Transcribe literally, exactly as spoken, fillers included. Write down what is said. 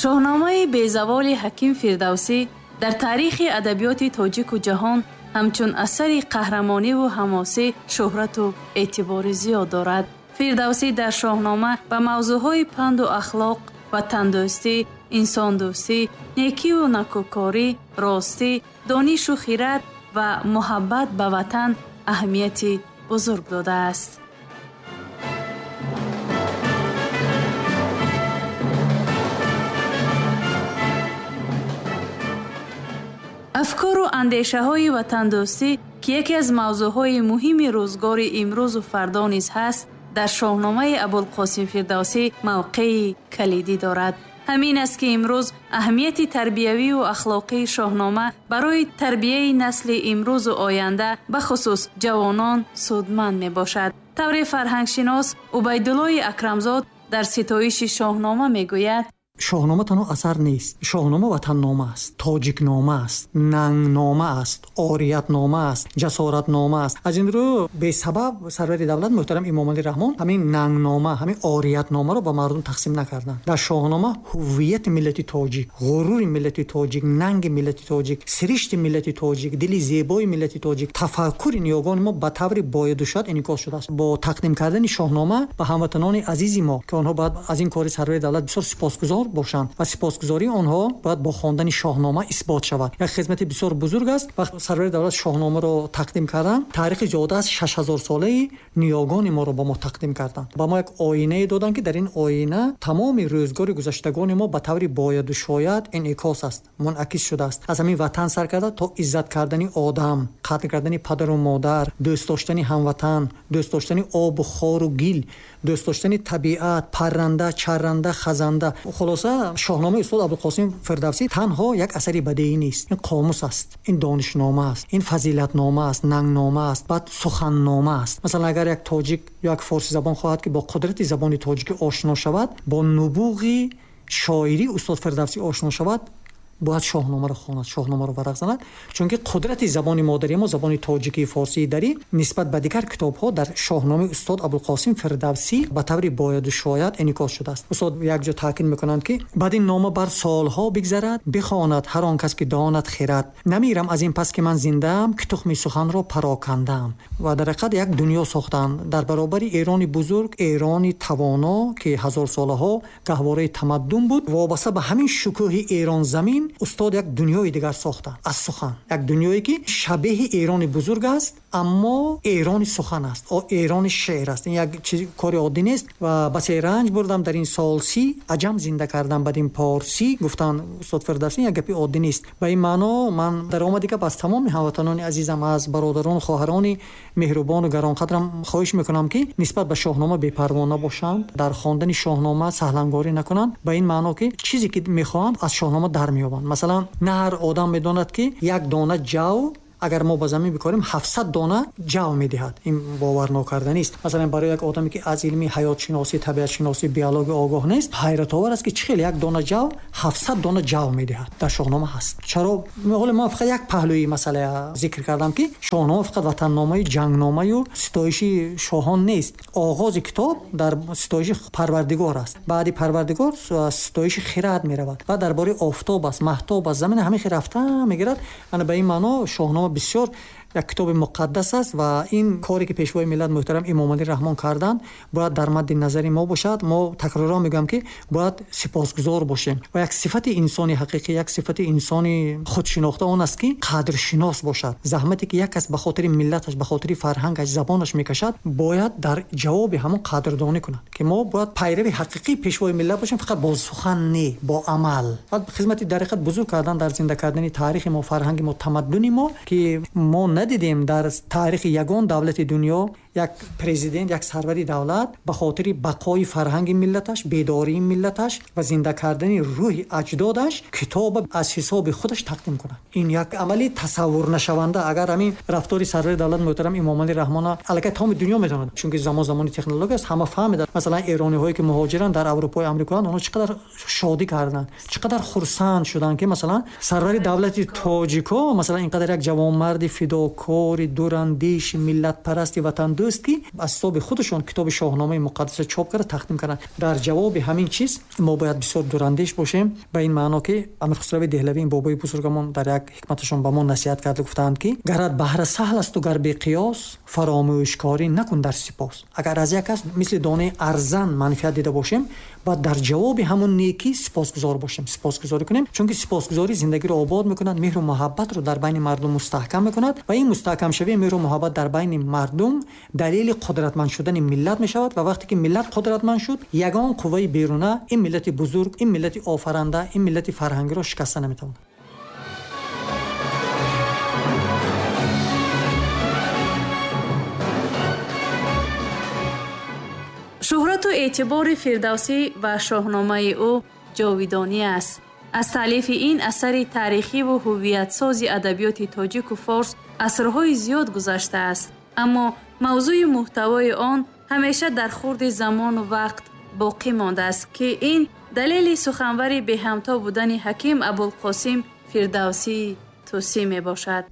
Шоҳномаи безаволи Ҳаким Фирдавсӣ дар таърихи адабиёти тоҷику ҷаҳон ҳамчун асари қаҳрамониву ҳамосӣ шӯҳрату эътибори зиёд дорад. Фирдавсӣ дар Шоҳнома ба мавзӯъҳои панду ахлоқ, ватандӯстӣ, инсондӯстӣ, некиву накӯкорӣ, ростӣ, донишу хират ва муҳаббат ба ватан аҳамияти бузург додааст. Афкору андешаҳои ватандӯстӣ, ки яке аз мавзӯъҳои муҳими рӯзгори имрӯзу фардо низ ҳаст, дар Шоҳномаи Абулқосим Фирдавсӣ мавқеи калидӣ дорад. Ҳамин аст, ки имрӯз аҳамияти тарбиявию ахлоқии Шоҳнома барои тарбияи насли имрӯзу оянда, бахусус ҷавонон, судманд мебошад. Тавре фарҳангшинос Убайдуллои Акрамзод дар ситоиши Шоҳнома мегӯяд: Шоҳнома танҳо асар нест. Шоҳнома ватаннома аст, тоҷикнома аст, нангнома аст, ориятнома аст, ҷасоратнома аст. Аз ин рӯ бесабаб сарвари давлат муҳтарам Эмомалӣ Раҳмон ҳамин нангнома, ҳамин ориятномаро ба мардум тақсим накарданд. Дар Шоҳнома ҳуввияти миллати тоҷик, ғурури миллати тоҷик, нанги миллати тоҷик, сиришти миллати тоҷик, дили зебои миллати тоҷик, тафаккури ниёгони мо ба таври бояду шояд инъикос шудааст. Бо тақдим кардани Шоҳнома ба ҳамватанони азизи мо, ки онҳо бояд аз ин кори сарвари давлат бисёр сипосгузор бошанд ва сипосгузории онҳо бояд бо хондани Шоҳнома исбот шавад. Як хизмати бисёр бузург аст. Вақт сарвари давлат Шоҳномаро тақдим карданд, таърихи зиёда аз шаш ҳазор солаи ниёгони моро ба мо тақдим карданд. Ба мо як оинае доданд, ки дар ин оина тамоми рӯзгори гузаштагони мо ба таври бояду шояд инъикос аст, мунъакис шудааст. Аз ҳамин ватан сар карда то иззат кардани одам, қадр кардани падару модар, дӯст доштани ҳамватан, дӯст доштани обу хору гил, дӯст доштани табиат, парранда, чарранда, хазанда. Хулоса, Шоҳномаи устод Абулқосим Фирдавсӣ танҳо як асари бадеӣ нест. Ин қомус аст, ин донишнома аст, ин фазилатнома аст, нангнома аст, баъд суханнома аст. Масалан, агар як тоҷик ё як форсизабон хоҳад, ки бо қудрати забони тоҷикӣ ошно шавад, бо нубуғи шоирии устод Фирдавсӣ ошно шавад, бояд Шоҳномаро хонад, Шоҳномаро варақ занад, чунки қудрати забони модарии мо, забони тоҷикии форсии дарӣ, нисбат ба дигар китобҳо дар Шоҳномаи устод Абулқосим Фирдавсӣ ба таври бояду шояд инъикос шудааст. Устод якҷо таъкид мекунанд, ки баъд ин нома бар солҳо бигзарад, бихонад ҳар он кас ки донад хирад. Намирам аз ин пас ки ман зиндаам, ки тухми суханро парокандаам. Ва дар ҳақиқат як дунё сохтанд дар баробари Эрони бузург, Эрони тавоно, ки ҳазорсолаҳо гаҳвораи тамаддун буд. Вобаста ба ҳамин шукӯҳи Эронзамин устод як дунёи дигар сохтанд аз сухан, як дунёе ки шабеҳи Эрони бузург аст, аммо Эрони сухан аст, Эрони шеър аст. Ин як чиз кори оддӣ нест. Ва басе ранҷ бурдам дар ин сол си, аҷам зинда кардам бад ин порсӣ, гуфтанд устод Фирдавсӣ, як гапи оддӣ нест. Ба ин маъно ман дар омади гап аз тамоми ҳамватанони азизам, аз бародарону хоҳарони меҳрубону гаронқадрам хоҳиш мекунам, ки нисбат ба Шоҳнома бепарво набошанд, дар хондани Шоҳнома саҳлангорӣ накунанд. Ба ин маъно ки чизе ки мехоҳанд аз Шоҳнома дар меёбанд. Масалан, на ҳар одам медонад, ки як дона ҷав агар мо ба замин бикорем ҳафтсад дона ҷав медиҳад. Ин боварнокарданист. Масалан, барои як одаме ки аз илми ҳаётшиносӣ, табиатшиносӣ, биология огоҳ нест, ҳайратовар аст, ки чӣ хел як дона ҷав ҳафтсад дона ҷав медиҳад. Дар Шоҳнома ҳаст. Чаро ҳоло ман фақат як паҳлӯи масъала зикр кардам, ки Шоҳнома фақат ватанномаю ҷангномаю ситоиши шоҳон нест. Оғози китоб дар ситоиши Парвардигор аст. Баъди Парвардигор ситоиши хирад меравад ва дар бораи офтоб аст, маҳтоб аст, замин ҳамин хел рафта мегирад. Ана ба ин маъно Шоҳнома бисёр як китоби муқаддас аст ва ин коре ки пешвои миллат муҳтарам Эмомалӣ Раҳмон карданд, бояд дар мадди назари мо бошад. Мо такроран мегӯям, ки бояд сипосгузор бошем ва як сифати инсони ҳақиқӣ, як сифати инсони худшинохта он аст, ки қадршинос бошад. Заҳмате ки як кас ба хотири миллаташ, ба хотири фарҳангаш, забонаш мекашад, бояд дар ҷавоби ҳамон қадрдонӣ кунад, ки мо бояд пайрави ҳақиқии пешвои миллат бошем, фақат бо сухан не, бо амал. Баъд хизмати дар ҳақиқат бузург кардан дар зинда кардани таърихи мо, фарҳанги мо, тамаддуни мо, ки мо надидем дар таърихи ягон давлати дунё як президент, як сарвари давлат ба хотири бақои фарҳанги миллаташ, бедории миллаташ ва зинда кардани рӯҳи аҷдодаш китоб аз ҳисоби худаш тақдим кунад. Ин як амали тасаввурнашаванда. Агар ҳамин рафтори сарвари давлат муҳтарам Эмомалӣ Раҳмона аллакай тамоми дунё медонад, чунки замон замони технология аст, ҳама фаҳмиданд. Масалан, эрониҳое ки муҳоҷиранд дар Аврупои Амрикоанд, онҳо чӣ қадар шодӣ карданд, чӣ қадар хурсанд шуданд, ки масалан сарвари давлати тоҷико масалан ин қадар як ҷавонмарди фидокори, дурандеш, миллатпарасти, ватандӯст ватандӯст, ки аз ҳисоби худашон китоби Шоҳномаи муқаддасро чоп карда тақдим карданд. Дар ҷавоби ҳамин чиз мо бояд бисёр дурандеш бошем, ба ин маъно ки Амир Хусрави Деҳлавӣ, ин бобои бузургамон, дар як ҳикматашон ба мо насиҳат карда гуфтаанд, ки гарат баҳра саҳл асту гар беқиёс, фаромӯшкорӣ накун дар сипос. Агар аз як кас мисли донаи арзан манфиат дида бошем, бояд дар ҷавоби ҳамон некӣ сипосгузор бошем, сипосгузорӣ кунем, чунки сипосгузорӣ зиндагиро обод мекунад, меҳру муҳаббатро дар байни мардум мустаҳкам мекунад ва ин мустаҳкамшавии меҳру муҳаббат дар байни мардум далели қудратманд шудани миллат мешавад. Ва вақте ки миллат қудратманд шуд, ягон қувваи беруна ин миллати бузург, ин миллати офаранда, ин миллати фарҳангиро шикаста наметавонад. Шӯҳрату эътибори Фирдавсӣ ва шоҳномаи ӯ ҷовидонӣ аст. Аз таълифи ин асари таърихиву ҳуввиятсози адабиёти тоҷику форс асрҳои зиёд гузаштааст, аммо мавзӯи муҳтавои он ҳамеша дар хурди замону вақт боқӣ мондааст, ки ин далели суханвари беҳамто будани ҳаким Абулқосим Фирдавсии Тӯсӣ мебошад.